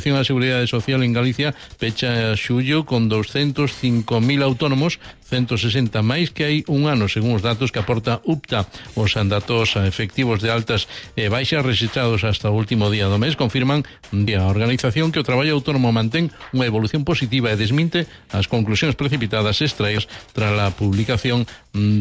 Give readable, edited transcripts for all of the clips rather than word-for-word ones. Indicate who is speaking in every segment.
Speaker 1: A Seguridade Social en Galicia pecha xullo con 205.000 autónomos, 160 máis que hai un ano, según os datos que aporta UPTA. Os datos efectivos de altas e baixas registrados hasta o último día do mes confirman a organización que o traballo autónomo mantén unha evolución positiva e desminte as conclusións precipitadas extraídas tras a publicación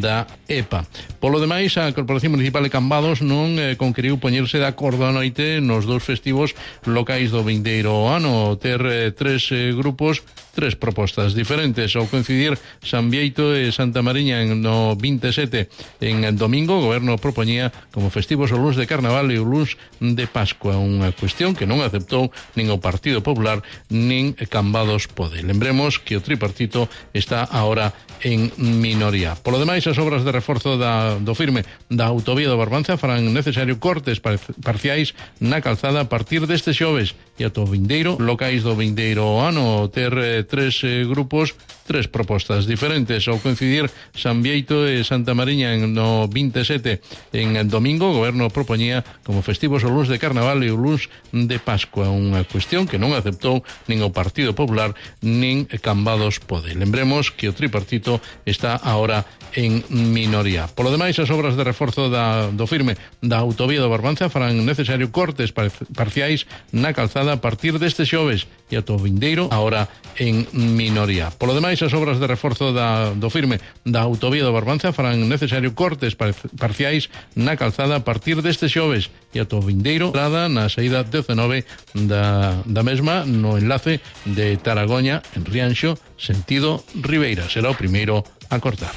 Speaker 1: da EPA. Polo demais, a Corporación Municipal de Cambados non conqueriu poñerse de acordo a noite nos dous festivos locais do vindeiro ano, ter tres grupos, tres propostas diferentes. Ao coincidir San Bieito e Santa Mariña no 27 en domingo, o goberno propoñía como festivos o luns de Carnaval e o luns de Pascua, unha cuestión que non aceptou nin o Partido Popular nin Cambados Pode. Lembremos que o tripartito está agora en minoría. Polo demais, as obras de reforzo do firme da autovía do Barbanza farán necesario cortes parciais na calzada a partir deste xoves e ata o vindeiro locais do vindeiro ano, ter tres grupos, tres propostas diferentes. Ao coincidir San Bieito e Santa Mariña no 27 en domingo, o goberno propoñía como festivos o luns de Carnaval e o luns de Pascua, unha cuestión que non aceptou nin o Partido Popular nin Cambados Pode. Lembremos que o tripartito está agora en minoría. Polo demais, as obras de reforzo do firme da autovía do Barbanza farán necesario cortes parciais na calzada a partir deste xoves e ata o vindeiro agora en minoría. Polo demais, as obras de reforzo do firme da autovía do Barbanza farán necesario cortes parciais na calzada a partir deste xoves e ata o vindeiro na saída 19 da mesma no enlace de Taragoña en Rianxo sentido Ribeira. Será o primeiro a cortar.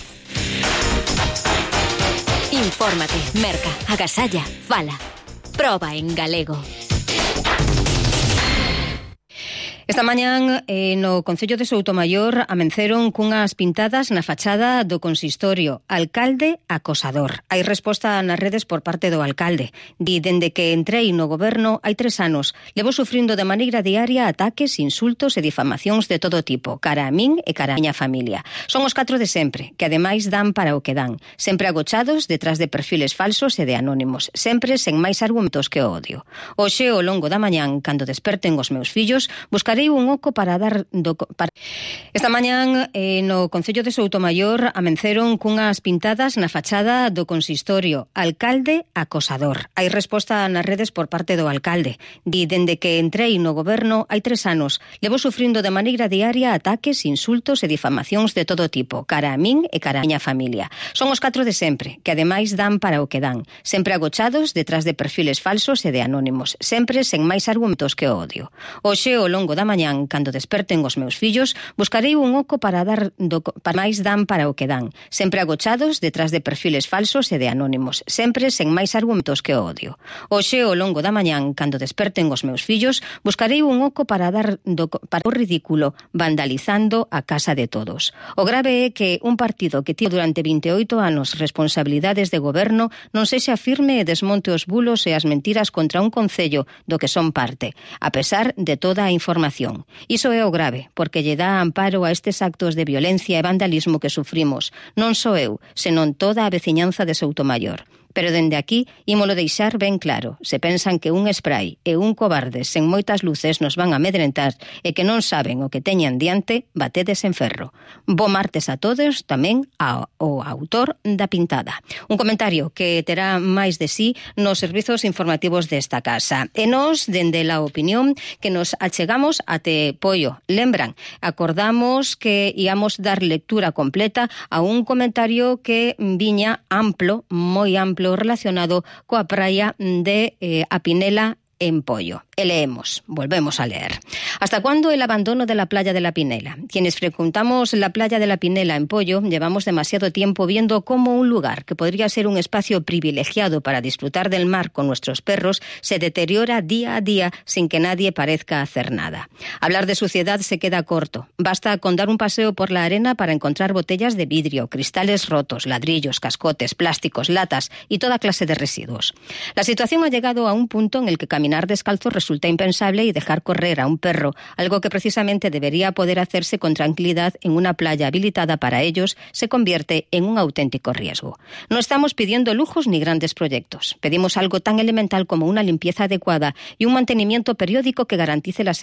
Speaker 2: Infórmate, merca, agasalla, fala. Proba en galego. Esta mañán no Concello de Soutomaior amenceron cunhas pintadas na fachada do consistorio: alcalde acosador. Hai resposta nas redes por parte do alcalde. Di: dende que entrei no goberno hai 3 anos, levo sufrindo de maneira diaria ataques, insultos e difamacións de todo tipo, cara a min e cara a miña familia. Son os 4 de sempre, que ademais dan para o que dan, sempre agochados detrás de perfiles falsos e de anónimos, sempre sen máis argumentos que o odio. Hoxe, ao longo da mañán, cando desperten os meus fillos, buscarei un oco para dar Esta mañán no Concello de Soutomaior amenceron cunhas pintadas na fachada do consistorio: alcalde acosador. Hai resposta nas redes por parte do alcalde. Di: dende que entrei no goberno hai 3 anos, levo sufrindo de maneira diaria ataques, insultos e difamacións de todo tipo, cara a min e cara a miña familia. Son os 4 de sempre, que ademais dan para o que dan, sempre agochados detrás de perfiles falsos e de anónimos, sempre sen máis argumentos que o odio. Hoxe, ao longo da mañán, cando desperten os meus fillos, buscarei un oco para dar para máis dan para o que dan, sempre agochados detrás de perfiles falsos e de anónimos, sempre sen máis argumentos que o odio. Hoxe, ao longo da mañán, cando desperten os meus fillos, buscarei un oco para dar para o ridículo, vandalizando a casa de todos. O grave é que un partido que tivo durante 28 anos responsabilidades de goberno non sexa firme e desmonte os bulos e as mentiras contra un concello do que son parte, a pesar de toda a información. Iso é o grave, porque lle dá amparo a estes actos de violencia e vandalismo que sufrimos, non só eu, senón toda a veciñanza de Soutomaior. Pero dende aquí ímolo deixar ben claro: se pensan que un spray e un cobarde sen moitas luces nos van a amedrentar e que non saben o que teñan diante, batedes en ferro. Bo martes a todos, tamén ao autor da pintada. Un comentario que terá máis de sí nos servizos informativos desta casa. E nós, dende la opinión, que nos achegamos até Poio. Lembran, acordamos que íamos dar lectura completa a un comentario que viña amplo, moi amplo, relacionado coa praia de A Pinela en Poio. E leemos, volvemos a leer. ¿Hasta cuándo el abandono de la playa de la Pinela? Quienes frecuentamos la playa de la Pinela en Poio llevamos demasiado tiempo viendo cómo un lugar que podría ser un espacio privilegiado para disfrutar del mar con nuestros perros se deteriora día a día sin que nadie parezca hacer nada. Hablar de suciedad se queda corto. Basta con dar un paseo por la arena para encontrar botellas de vidrio, cristales rotos, ladrillos, cascotes, plásticos, latas y toda clase de residuos. La situación ha llegado a un punto en el que caminar descalzo resulta impensable y dejar correr a un perro, algo que precisamente debería poder hacerse con tranquilidad en una playa habilitada para ellos, se convierte en un auténtico riesgo. No estamos pidiendo lujos ni grandes proyectos. Pedimos algo tan elemental como una limpieza adecuada y un mantenimiento periódico que garantice la seguridad